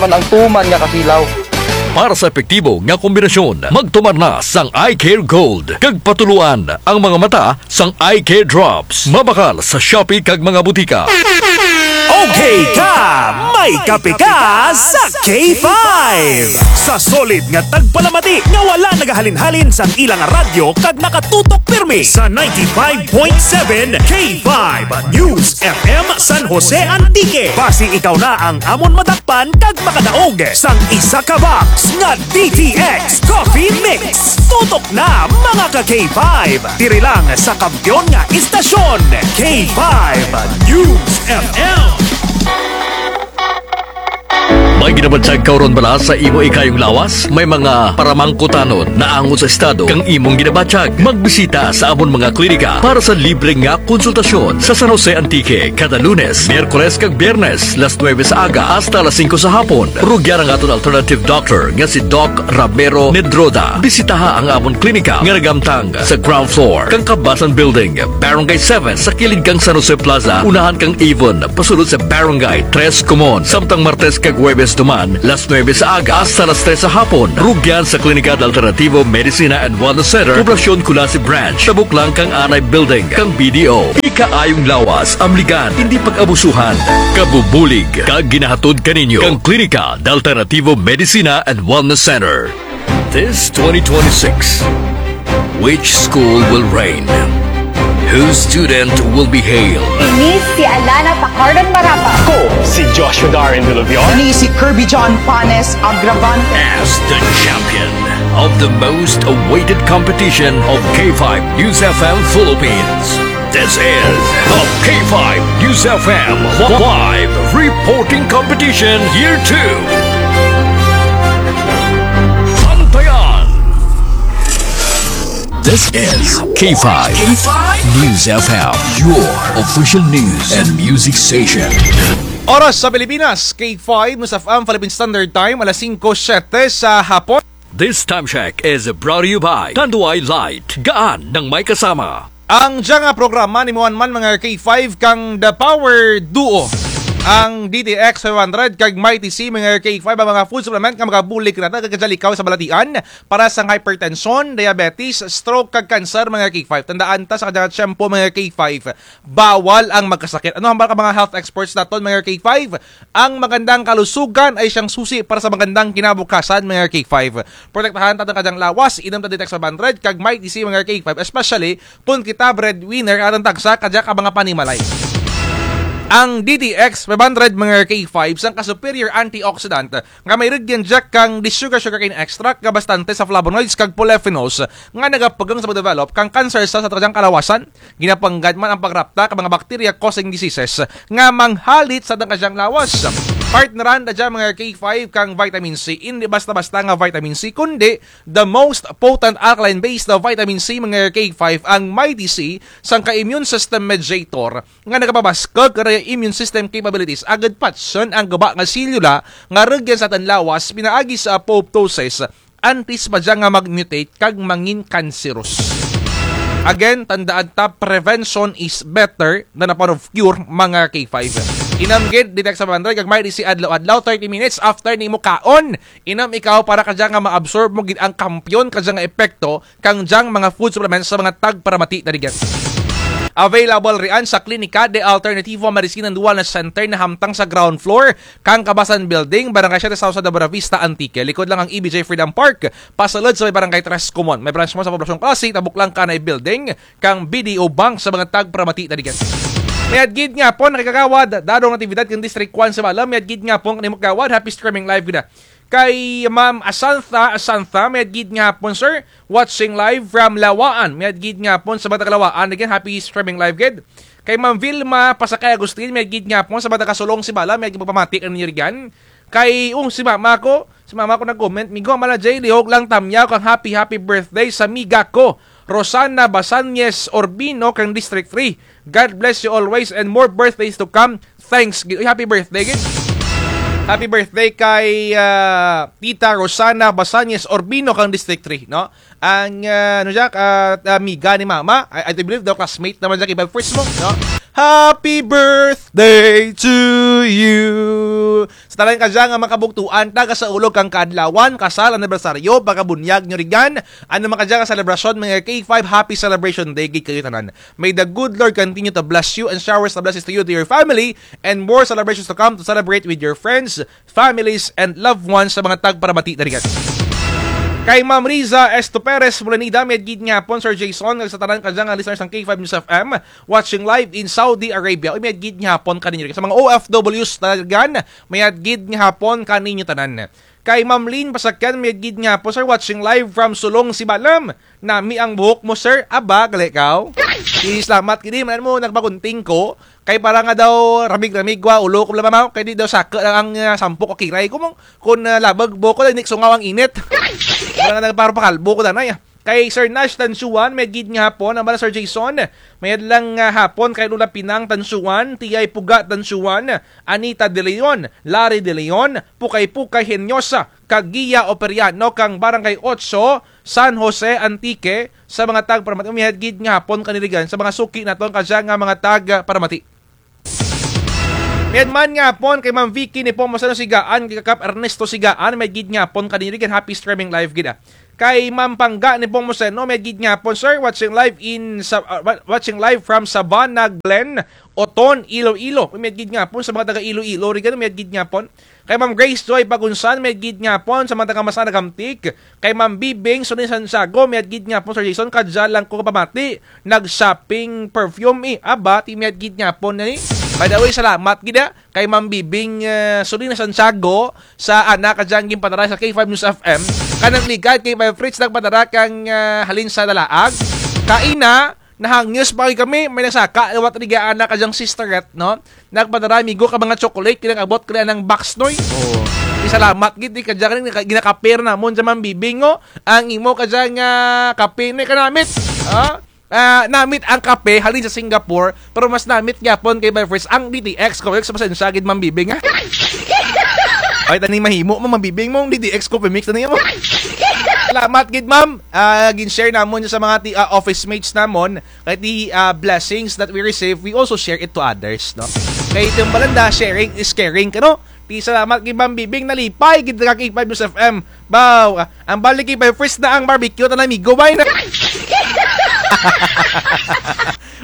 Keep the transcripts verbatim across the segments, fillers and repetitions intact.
Man ang tuman nga kasilaw. Para sa epektibo nga kombinasyon, magtumar na sang Eye Care Gold, kag patuloan ang mga mata sang Eye Care Drops. Mabakal sa Shopee kag mga butika. Okay ka, may kape ka sa K five. Sa solid nga tagpalamati nga wala nagahalin-halin sang ilang radyo kag nakatutok pirmi sa ninety-five point seven K five News F M San Jose Antique. Basi ikaw na ang amon madakpan kag makadaog sang isa ka box nga D T X Coffee Mix. Tutok na, mga ka K five. Diri lang sa kampiyon nga istasyon, K five News F M. May ginabatyag ka huron bala sa imo ikayong lawas? May mga paramangkutanon naangot sa estado kang imong ginabatyag? Magbisita sa amon mga klinika para sa libre nga konsultasyon sa San Jose Antique kada Lunes, Miyerkules kag Biyernes, las nuebe sa aga hasta las singko sa hapon. Rugyan ang aton alternative doctor nga si Doc Ramiro Nedroda. Bisitaha ang amon klinika nga nagamtang sa ground floor kang Kabasan Building, Barangay seven, sa kilid kang San Jose Plaza, unahan kang Avon, pasulod sa Barangay Tres Comon. Samtang Martes kag Huwebes duman, las nuebe sa aga hasta las tres sa hapon. Rugyan sa Klinika de Alternativo Medicina and Wellness Center, Poblacion Culasi Branch, tabok lang kang Anay Building kang B D O. Ikaayong lawas, amligan, indi pag-abusuhan. Kabubulig kag ginahatod kaninyo kang Klinika de Alternativo Medicina and Wellness Center. This twenty twenty-six, which school will reign? Whose student will be hailed? Ini si Alana Pacardon Marapa. Ako si Joshua Darren Dulubion. Ini si Kirby John Panes Agravante. As the champion of the most awaited competition of K five News F M Philippines. This is the K five News F M Live Reporting Competition Year two. Bantayan. This is K five News F M, your official news and music station. Oras sa Pilipinas, K five News F M Philippine Standard Time, alas singko siyete sa hapon. This time check is brought to you by Tanduay Light. Gaan ng may kasama. Ang dya nga programa nimo man, mga K five, kang The Power Duo. Ang D T X five hundred kag Mighty C, mga K five, ang mga food supplement nga makabulig kanata kag kadya likaw sa balatian para sa hypertension, diabetes, stroke, kag cancer, mga K five. Tandaan ta sa kadya nga tiyempo, mga K five, bawal ang magkasakit. Ano hambal kang mga health experts naton, mga K five? Ang magandang kalusugan ay siyang susi para sa magandang kinabukasan, mga K five. Protektahan ta ang kadyang lawas, inom ta D T X five hundred kag Mighty C, mga K five, especially kon kita breadwinner, atun tagsa kadya ka mga panimalay. Ang D T X five hundred, mga K five, sangka superior antioxidant nga may rugyan dya kang the sugar sugarcane extract nga bastante sa flavonoids kag polyphenols nga nagapugang sa pagdevelop kang cancer cells sa kadyang kalawasan. Ginapanggad man ang pagrapta kang mga bacteria causing diseases nga manghalit sa atun kadyang lawas. Partneran ta dya, mga K five, kang vitamin C. Indi basta-basta nga vitamin C, kundi the most potent alkaline base na vitamin C, mga K five, ang Mighty C, sangka immune system mediator nga nagapabaskug kang immune system capabilities agud patyon ang guba nga selula nga rugyan sa atun lawas pinaagi sa apoptosis antes pa dya nga mag-mutate kag mangin cancerous. Again, tandaan ta, prevention is better than a pot of cure, mga K five. Inom gid D T X five hundred kag Mighty C adlaw-adlaw, thirty minutes after nimo kaon. Inom ikaw para kadya nga ma-absorb mo gid ang kampiyon kadya nga epekto kang dyang mga food supplements sa mga tagparamati ta rugyan. Available riyan sa Klinika de Alternativo Medicina and Wellness Center na hamtang sa ground floor kang Kabasan Building, Barangay Siete Sausa de Buenavista, Antique. Likod lang kang E B J Freedom Park, pasulod sa may Barangay Tres Comon. May branch man sa Poblacion Culasi, tabok lang kang Anay Building kang B D O Bank sa mga tagparamati ta rugyan. Mayad gid nga hapon, mga kagawad, dad-on nga aktibidad kang District one sa Malem. Mayad gid nga hapon kanimo kagawad, happy streaming live gid. Kay Ma'am Asantha, Asantha, mayad gid nga hapon, sir. Watching live from Laua-an. Mayad gid nga hapon sa mga taga Laua-an. Again, happy streaming live gid. Kay Ma'am Vilma Pasakay Agustin, mayad gid nga hapon sa mga taga Sulong, Sibalom, mayad gid pagpamati kaninyo rugyan. Kay, oh, si mama ko, si mama ko nag-comment, migo, Mala J, lihog lang tamyaw kang happy, happy birthday sa miga ko, Rosana Basanyes Urbino kang District three. God bless you always and more birthdays to come. Thanks gid. Uy, happy birthday gid. Happy birthday kay, ah, Tita Rosana Basanyes Urbino kang District three, no? Ang, ah, ano dya, ah, amiga ni Mama, I, I believe daw classmate naman dya kay Bebfirst mo, no? Happy birthday to you. Sa tanan kadya nga mga kabugtuan, taga sa ulog kang kaadlawan, kasal, anibersaryo, pagkabunyag nyo rigan, ano man kadya nga selebrasyon, mga K five, happy celebration day gid kayo tanan. May the good Lord continue to bless you and showers of blessings to you, to your family, and more celebrations to come to celebrate with your friends, families, and loved ones sa mga tagparamati dirigan. Kay Ma'am Riza Esto Perez Mulanida, mayad gid nga hapon, Sir Jason, kag sa tanan kadya nga listeners sang K five News F M, watching live in Saudi Arabia. Uy, mayad gid nga hapon kaninyo dirigan. Sa mga O F Ws dirigan, mayad gid nga hapon kaninyo tanan. Kay Ma'am Lynn Pasakyan, mayad gid nga hapon, sir, watching live from Sulong, Sibalom. Nami ang buhok mo, sir. Aba, gali kaw. Di, salamat gid, man-an mo, nagpagunting ko. Kay para nga daw ramig-ramig wa ulo ko, bala, ma'am. Kay di daw saka lang ang, ah, sampok o kiray ko, mong. Kun, ah, labag buhok ko, daw indi sungaw ang init. Para nga nagpapakalbo ko, danay, ah. Kay Sir Nash Tansuan, mayad gid nga hapon, ang bala Sir Jason, mayad lang nga hapon kay Lola Pinang Tansuan, Tiyay Puga Tansuan, Anita De Leon, Larry De Leon, Pukay-Pukay Henyosa, kag Gia Operiano kang Barangay Otso, San Jose, Antique, sa mga tagparamati, mayad gid nga hapon kanirigan, sa mga suki naton kadya nga mga tagparamati. Mayad man nga hapon kay Ma'am Vicky Nepomuceno Sigaan, kay Kap Ernesto Sigaan, mayad gid nga hapon kanirigan, happy streaming live gid, ah. Kay Ma'am Pangga Nepomuceno, mayad gid nga hapon, sir, watching live in sa, ah, wa-, watching live from Sabana Glen, Oton, Iloilo. Mayad gid nga hapon sa mga taga Iloilo, rigan, mayad gid nga hapon. Kay Ma'am Grace Joy Pagunsan, mayad gid nga hapon sa mga taga Masana, Gamtik. Kay Ma'am Bibing Suni Santiago, mayad gid nga hapon, Sir Jason, kadya lang ko kapamati, nag-shopping perfume, eh. Aba, ti mayad gid nga hapon na, eh. By the way, salamat gid, ah, kay Ma'am Bibing, eh, Suni Santiago, sa ana kadya nga ginpadara sa K five News F M. Kanang ligad kay Five Fritz nagpadara kang, ah, halin sa Dalaag. Kaina, nahangyos pa kami, may nagsaka liwat rugya ana kadya nga sisterette, no? Nagpadara, amigo, ka mga chocolate, kay nag-abot kay anang box, noy. Oo. Di, salamat gid, ti kadya nga ginakape ra namon dya, Ma'am Bibing, o. Ang imo kadya nga kape, noy, kanamit. Ah? Ah, namit ang kape, halin sa Singapore, pero mas namit gihapon kay Five Fritz ang D T X Coffee Mix, pasensya gid, Ma'am Bibing, ha? Ay, tani mahimo mo, Ma'am Bibing, mong D T X Coffee Mix, tani mo. Salamat gid, ma'am. Ah, gin-share namon sa mga ti-, ah, office mates namon. Kay ti, ah, blessings that we receive, we also share it to others, no? Kay ti ang balanda, sharing is caring, kano? Ti salamat kay Ma'am Bibing, nalipay gid ka kay K five News F M. Baw, ah, ang balik kay Five Fritz na ang barbecue, tana amigo, bay na.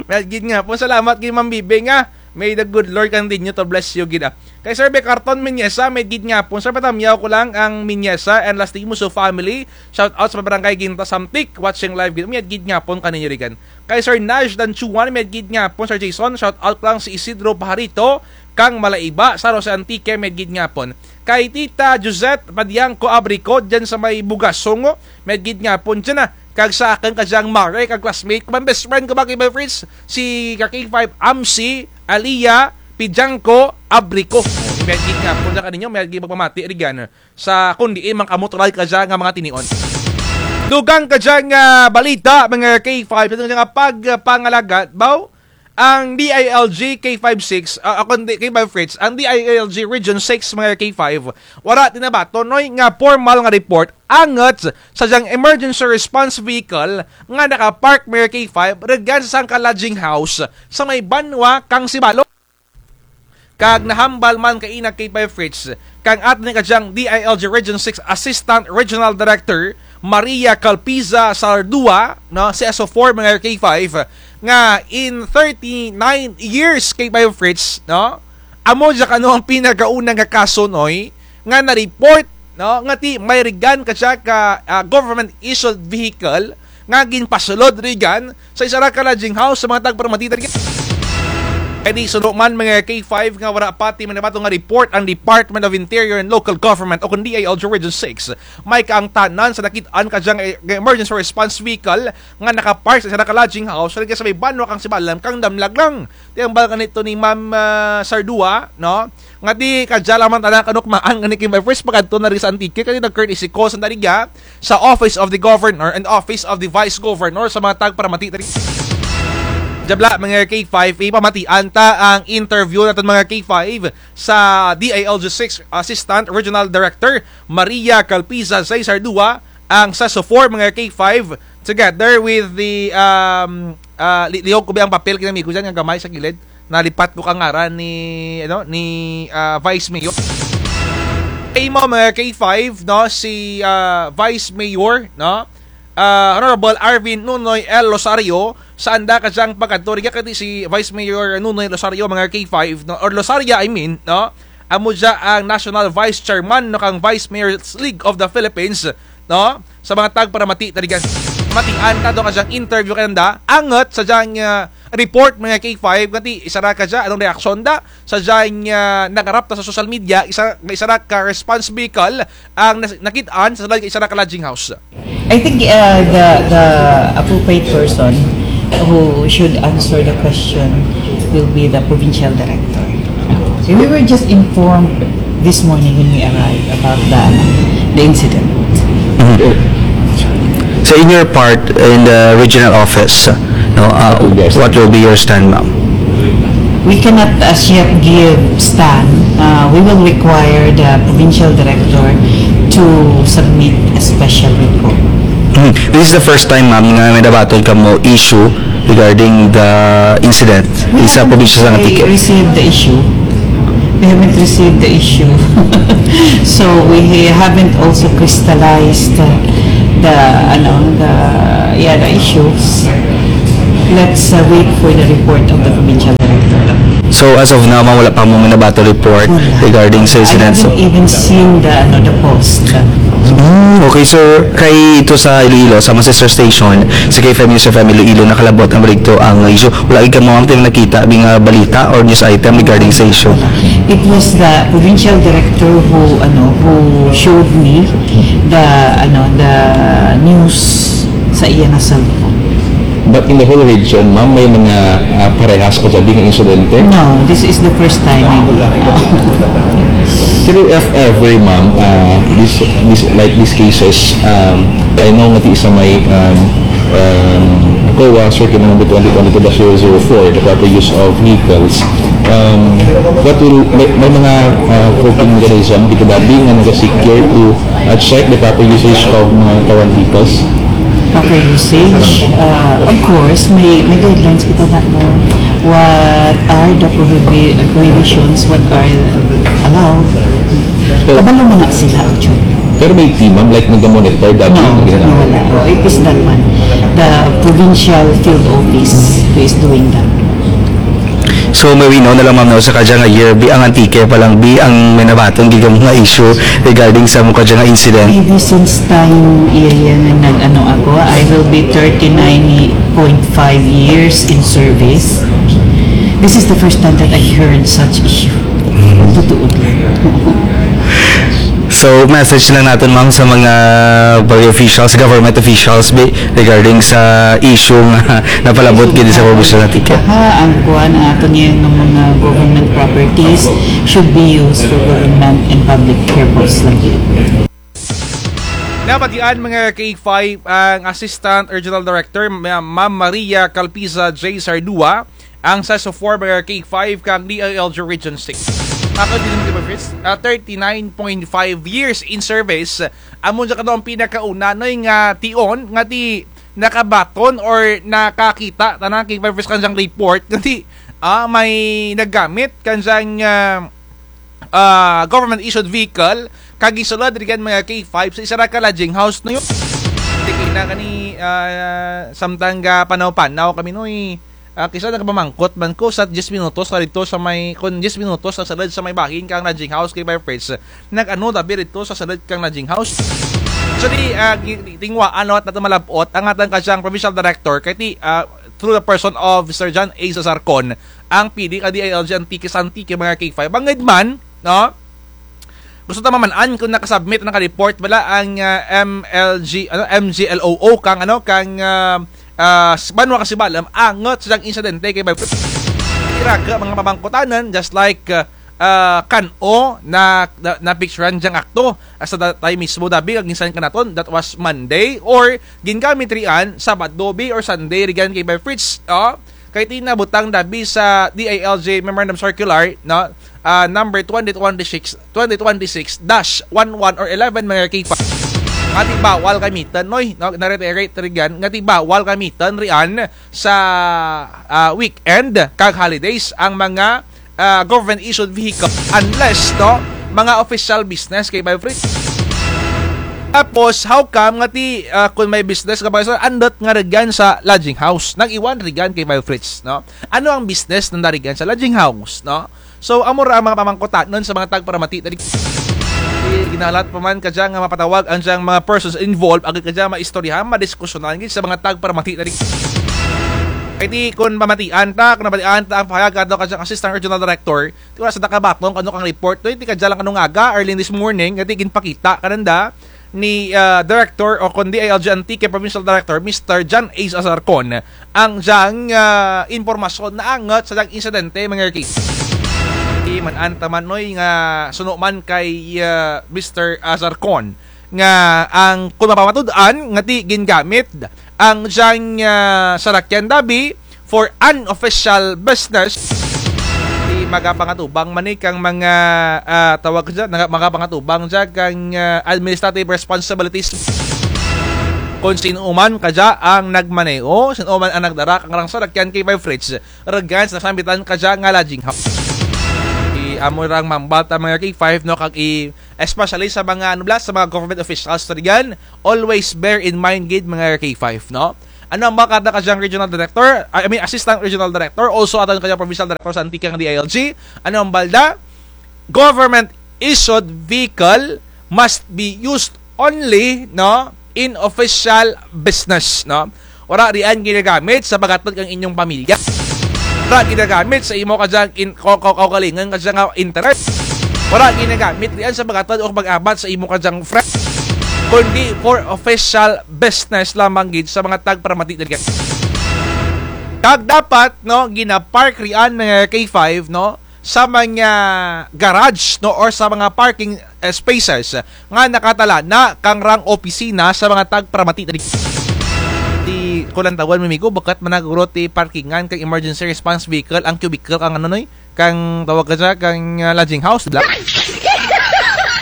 Mayad gid nga hapon, salamat kay Ma'am Bibing, ah. May the good Lord continue to bless you gid, ah. Kay Sir Becarton Miñesa, mayad gid nga hapon, sir, patamyaw ko lang ang Miñesa and Lastimoso family. Shout out sa Barangay Ginta Samtic, watching live gid. Mayad gid nga hapon kaninyo rigan. Kay Sir Nash Danchuan, mayad gid nga hapon, Sir Jason, shout out lang si Isidro Pajarito, kang Malaiba, San Jose Antique, mayad gid nga hapon. Kay Tita Josette Padiangco Abrico, dyan sa may Bugasong, mayad gid nga hapon dyan, ah. Kag sa akun kadyang mare, kag classmate, kag best friend ko ba kay Five Fritz, si ka K five Amsi, Alia, Padiangco Abrico. Mayad gid nga hapon dyan kaninyo, mayad gid pagpamati, rigan. Sa kun diin man kamo tulad kadya nga mga tinion. Dugang kadya nga balita, mga K five, sa kadya nga pagpangalagad, baw, ang D I L G K five six, ah, ah, kundi K five Fritz, ang D I L G Region six, mga K five, wara ti nabaton, noy, nga formal nga report, angut sa dyang emergency response vehicle nga nakapark, mga K five, rugyan sa sangka lodging house sa may banwa kang Sibalom. Kag nahambal man kaina kay Five Fritz, kang atun kadyang D I L G Region six Assistant Regional Director, Maria Calpiza Sardua, no, C S O four, mga K five, nga in thirty-nine years kay Five Fritz, no, amo dya kano ang pinakauna nga kaso, noy, nga na-report, no, nga ti may rugyan kadya ka, ah, government-issued vehicle nga ginpasulod rugyan sa isara ka lodging house sa mga tagparamati dya. Kay ti suno man, mga K five, nga wara pa ti may nabaton nga report ang Department of Interior and Local Government o kun D I L G Region six, may kaangtanan sa nakit-an kadyang, eh, emergency response vehicle nga nakapark sa isara ka lodging house rugya sa may banwa kang Sibalom kang Damlag lang. Ti hambal kanito ni Ma'am, ah, Sardua, no? Nga ti kadya lang man tana kanukmaan ngani kay Five Fritz, pakadto na ri sa Antique, kay nag-courtesy call sa nariga sa Office of the Governor and Office of the Vice Governor sa mga tagparamati dya. Dya bala, mga K five, ipamatian ta ang interview natun, mga K five, sa D I L G six Assistant Regional Director Maria Calpiza Zay Sardua, ang C S O four, mga K five, together with the, um, ah, li-, lihog ko baya ang papel, kinamigo dyan, nga gamay sa kilid. Nalipat ko kang ngaran ni, ano, ni, ah, Vice Mayor. Imo, mga K five, no, si, ah, Vice Mayor, no, ah, Honorable Arvin Nunoy L Losario, sa anda ka dyang pagkadto, rugya kay ti si Vice Mayor Nunoy Losario, mga K five, no, or Losaria, I mean, no, amo dya ang National Vice Chairman, no, kang Vice Mayors League of the Philippines, no? Sa mga tagparamati, talagang matian ta daw ka dyang interview kananda, angut sa dyang, ah, report, mga K five, kay ti isara ka dya, anong reaksyon da sa dyang, ah, nagarap ta sa social media, isa, isara ka response vehicle ang nas-, nakit-an sa sulud kang isara ka lodging house. I think, uh, the, the appropriate person who should answer the question will be the provincial director. We were just informed this morning when we arrived about the, the incident. So in your part, in the regional office, no, uh, what will be your stand, ma'am? We cannot as yet give stand. Uh, we will require the provincial director to submit a special report. Hmm. This is the first time, ma'am, nga may nabaton kamo issue regarding the incident sa probinsya sang Antique. We received the issue. We haven't received the issue. So we haven't also crystallized the, the, ano, the, yeah, the issues. Let's, uh, wait for the report of the provincial director. So as of now, ma'am, wala pa mo nabaton report regarding sa incident. I haven't even seen the, ano, the post. Hmm, okay, sir. Kay ito sa Iloilo, sa mga sister station, sa K five News F M Iloilo, nakalabot ang baligto ang issue. Wala gid kamo, ma'am, ti nakita, mga balita or news item regarding sa issue. It was the provincial director who, ano, who showed me the, ano, the news sa iya nga cellphone. But in the whole region, ma'am, may mga, ah, parehas kang sabi nga insidente? No, this is the first time. Pero if ever, ma'am, ah, this, this, like these cases, um, I know nga ti sa may, um, um, COA, Circuit Number twenty twenty-two dash zero zero four, the proper use of vehicles. Um, what will, may, may mga, ah, coping mechanism, dito ba, being nga naga-secure to, ah, check the proper usage of mga current vehicles? Proper usage, uh, of course, may, may guidelines kita na kung what are the prohibi-, prohibitions, what are allowed. Kabalo mo na sila, actually. Pero may team, ma'am, like, naga-monitor that? No, Hindi na. No, wala. Oh, it is that one. The provincial field office who is doing that. So, maminaw na lang, ma'am, no, sa kadya nga year, bi ang Antique pa lang, bi ang may nabaton gid nga mga issue regarding sa mga kadya nga incident. Maybe since time iya nga nag-ano ako, I will be thirty-nine point five years in service. This is the first time that I heard such issue. Totoo lang. So, message lang naton, ma'am, sa mga barangay officials, government officials, bi, regarding sa issue nga napalabot gid sa probinsya sang Antique. Ha, ang kuan, ang aton nga mga government properties should be used for government and public purpose lang. Nabatian, mga K five, ang Assistant Regional Director, Ma-, Ma'am Maria Calpisa J Sardua, ang sa S O four, mga K five, kang D I L G Region six. Ako din, di ba, Fritz? Ah, thirty-nine point five years in service. Amo dya kano ang pinakauna, no, nga tion, nga ti nakabaton or nakakita, tanan K five Fritz, kang dyang report, nga ti, ah, may naggamit, kang dyang, ah, ah, government-issued vehicle, kag gisulud rugyan, mga K five, sa isara ka lodging house, no, yun. Di kina kani, ah, samtang gapanaw-panaw kami, no, eh. Ah, kis-a nagapamangkot man ko sa diyes minutos pa didto sa may, kon diyes minutos sa sulud sa may bahin kang lodging house, K five Fritz. Nag-ano, dabi didto sa sulud kang lodging house. So, di, ah, gi-, di, tinguhaan, no, at naton malab-ot, ang atun kadyang provincial director, kay ti, ah, through the person of Mister John A Sasarcon, ang P D ka D I L G Antique sa Antique, mga K five. Bangud man, no? Gusto ta maman-an kon nakasubmit, nakareport bala ang, ah, M L G, ano, M G L O O, kang, ano, kang, ah, ah, s-, banwa kang Sibalom, angut sa dyang insidente, K five Fritz. Ira ka mga pamangkutanan, just like, ah, ah, kan-o na, na, napicturan dyang akto. Hasta da-, tayo mismo dabi, kag ginsan ka naton, that was Monday, or gingamit rian, Sabado bi or Sunday, rugyan, K five Fritz, oh. Kay ti nabutang dabi sa D I L G Memorandum Circular, no? Ah, number twenty twenty-six, twenty twenty-six dash one one or eleven, mga K five. Nga ti bawal gamitan, noy, no, na-reiterate rugyan, nga ti bawal gamitan riyan sa, ah, weekend kag holidays ang mga, ah, government issued vehicle unless, no, mga official business kay Vibe Fritz. Tapos, how come nga ti, ah, kung may business ka ba, andut nga rugyan sa lodging house? Nag-iwan rugyan kay Vibe Fritz, no? Ano ang business nanda rugyan sa lodging house, no? So, amo ra ang mga pamangkutanon sa mga tagparamati na di-, ginalat pa man kadya nga mapatawag ang dyang mga persons involved, agud kadya maistoryahan, madiskusyonan gid sa mga tagparamati na di-, kay ti kun pamatian ta, kun pamatian ta ang pahayag kadto kadyang Assistant Regional Director, ti wara sanda kabaton kung ano kang report, ti kadya lang kanungaga, early this morning, nga ti ginpakita kananda ni, ah, Director o kon D I L G Antique Provincial Director, Mister John Ace Azarcon, ang dyang, ah, impormasyon naangut sa dyang insidente, mga Ricky. Ti man-an ta man, noy, nga suno man kay, ah, Mister Azarcon nga ang kun mapamatud-an nga ti gingamit ang dyang, ah, sarakyan dabi for unofficial business. Ti magapangatubang man ni kang mga, ah, tawag dya, naga-, magapangatubang dya kang, ah, administrative responsibilities. Kon sin-o man kadya ang nagmaneho, sin-o man ang nagdara kang rang sarakyan kay Vibe Fritz, rugyan sa sambitan kadya nga lodging house. Ti amo rang mambal ta mga K five, no, kag i-, especially sa mga, ano bala, sa mga government officials rugyan, always bear in mind gid mga K five, no? Ano ang balda kadyang regional director, I mean, assistant regional director, also aton kadyang provincial director sa Antique nga D I L G. Ano ang balda? Government issued vehicle must be used only, no, in official business, no? Wara riyan ginagamit sa paghatod kang inyong pamilya. Wara ginagamit sa imo kadyang in-, ka-, ka-, kaugalingon kadya nga interest. Wara ginagamit riyan sa paghatod o pag-abat sa imo kadyang friend. Kundi for official business lamang gid sa mga tagparamati na rugyan. Kag dapat, no, ginapark riyan mga K five, no, sa mga garage, no, or sa mga parking, eh, spaces nga nakatala na kang rang opisina sa mga tagparamati na rugyan. Ti kulantawan mi, migo, bukut man na guro ti parkingan kang emergency response vehicle, ang cubicle kang ano, noy, kang tawag kadya, kang, ah, lodging house, di bala?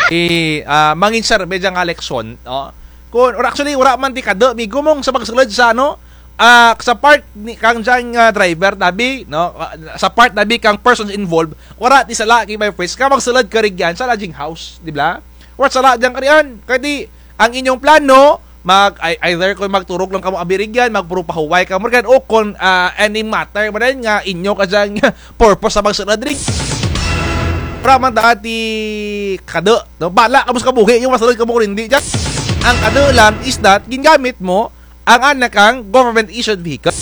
Ti, ah, mangin survey dya nga eleksyon, no? Kun, or actually, wara man ti kadu, migo, mong sa pagsulud sa, ano, ah, sa part ni, kang dyang, ah, driver dabi, no? Ah, sa part dabi kang persons involved, wara ti sala kay Vibe Fritz, kang magsulud ka rugyan sa lodging house, di bala? Wara sala dyan ka riyan, kay ti, ang inyong plano, mag, ei-, either kon magturog lang kamo abi rugyan, magpuro pahuway kamo rugyan, o kon, ah, any matter man nga inyo kadyang purpose sa pagsulud rugyan. Wara man ta ti kadu, no? Bala kamo sa kabuhi, yung masulud kamo kon indi dyan. Ang kadu lang is that, gingamit mo, ang ana kang government issued vehicle.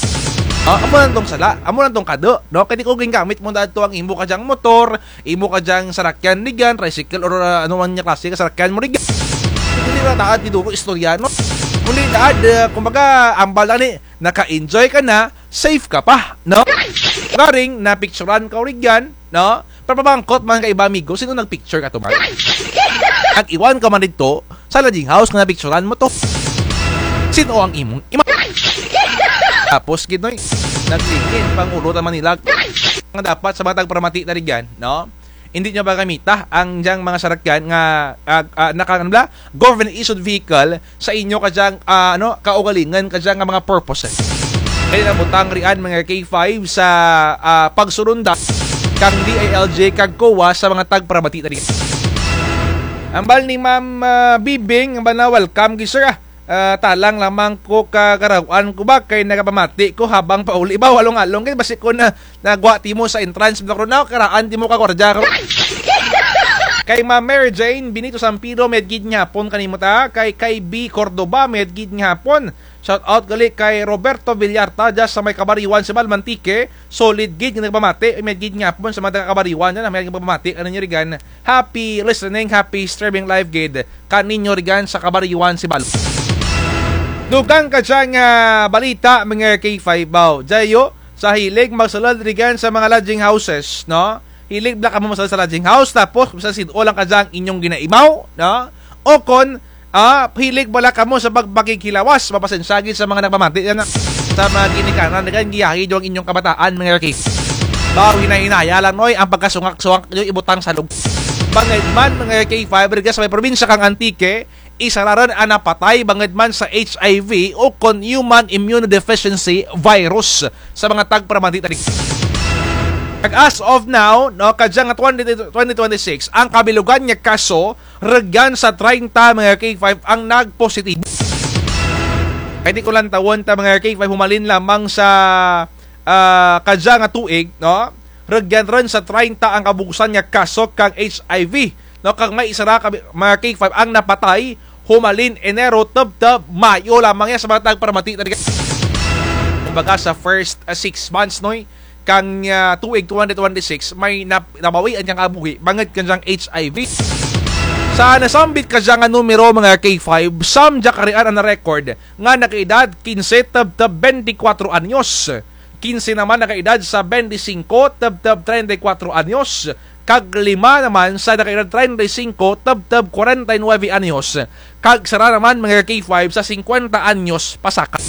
Ah, amo lang tong sala, amo lang tong kadu, no? Kay ti kon gingamit mo dato ang imo kadyang motor, imo kadyang sarakyan rugyan, tricycle, or, ah, ano man nga klase ka sarakyan mo rugyan. Kundi ra taad ti duro istorya, no? Kundi taad, ah, kumbaga, ambal lang ni, naka-enjoy ka na, safe ka pa, no? Garing, napicturan ka rugyan, no? Pero pamangkot man kang iba, amigo, sin-o nagpicture kato man? Nag-iwan ka man didto sa lodging house nga napicturan mo to. Sin-o ang imong ima? Tapos gid, noy, naglingin pangulo ta Manila nga dapat sa mga tagparamati na rugyan, no? Indi nyo ba gamita ang dyang mga sarakyan nga, ah, ah, naka-, ano bala? Government issued vehicle sa inyo kadyang, ah, ano, kaugalingon kadyang nga mga purposes. Kay nabutang riyan mga K five sa, ah, pagsurunda kang D I L G kag COA sa mga tagparamati na rugyan. Ambal ni Ma'am, ah, Bibing, ambal na, welcome gid, sir, ah. Ah, talang lamang ko kagaraw-an ko ba kay nagapamati ko habang pauli ba, along-along gid, basi ko na nagwa timo sa entrance, bala ko na, karaan timo ka gwardiya ko. Kay Ma'am Mary Jane Benito Sampido, mayad gid nga hapon kanimo ta. Kay, kay B Cordoba, mayad gid nga hapon. Shout out gali kay Roberto Villarta, dya sa may Cabariuan, Sibalom, Antique. Solid gid nga nagpamati, mayad gid nga hapon sa mga taga Cabariuan dyan, mayad gid pamati, ano nyo rugyan. Happy listening, happy streaming live gid kaninyo rugyan sa Cabariuan, Sibalom. Dugang kadya nga balita, mga K five, baw. Dya yo, sa hilig magsulud rugyan sa mga lodging houses, no? Hilig bala kamo magsulud sa lodging house, tapos bisan sin-o lang kadya ang inyong ginaimaw, no? O kon, ah, hilig bala kamo sa pagpakighilawas, mapasensya gid sa mga nagpamati dyan, ah. Sa mga ginikanan, dyan, giyahi dyan ang inyong kabataan, mga K five. Baw, hinay-hinaya lang, noy, ang pagkasungak-sungak nyo ibutang sa lug. Bangud man, mga K five, rugya sa may probinsya kang Antique, isara run ang napatay bangud man sa H I V ukon human immunodeficiency virus sa mga tagparamati tadi. Kag as of now, no, kadya nga twenty, twenty twenty-six, ang kabilugan nga kaso, rugyan sa treinta, mga K five, ang nagpositibo. Kay di ko lantawon ta, mga K five, humalin lamang sa, ah, kadya nga tuig, no? Rugyan run sa treinta ang kabugusan nga kaso kang H I V, no? Kag may isara ka, mga K five, ang napatay humalin Enero tubtub Mayo lamang ya sa mga tagparamati tadi. Kumbaga sa first, ah, six months, noy, kang, ah, tuig twenty twenty-six, may nap-, nabawian kang kabuhi bangud kang dyang H I V. Sa nasambit kadya nga numero, mga K five, siyam dya ka arian ang na-record nga nakaedad kinse tubtub bente kwatro anyos. Kinse naman nakaedad sa bente singko tubtub treinta y cuatro anyos. Kag lima naman sa nakaedad treinta y singko tubtub kwarenta y nuebe anyos. Kag sara naman, mga K five, sa singkwenta anyos pasaka.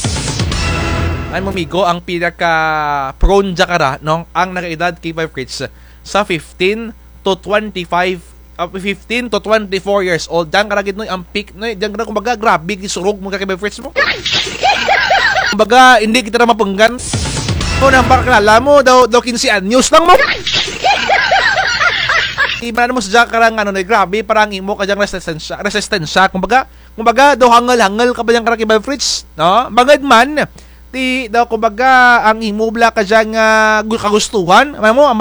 Ay, mga amigo, ang pinaka-prone dya kara, no? Ang nakaedad, K five Fritz, sa fifteen to twenty-five, ah, fifteen to twenty-four years old. Dyan kara gid, no, ang peak, no? Dyan kara, kumbaga, grabe, gisurog mo ka, K five Fritz mo. Kumbaga, hindi kita na mapunggan. Kung ang pakilala mo, daw, daw kinse anyos lang mo. Iba na mo sa dyan karang, ano, no, grabe, parang imo ka dyang resistensya, resistensya. Kumbaga, kumbaga, daw hangul-hangul ka ba dyan karang K five Fritz, no? Bangud man, ti, daw, kumbaga, ang imo bala ka dyang, ah, gu-, kagustuhan, ano mo, ang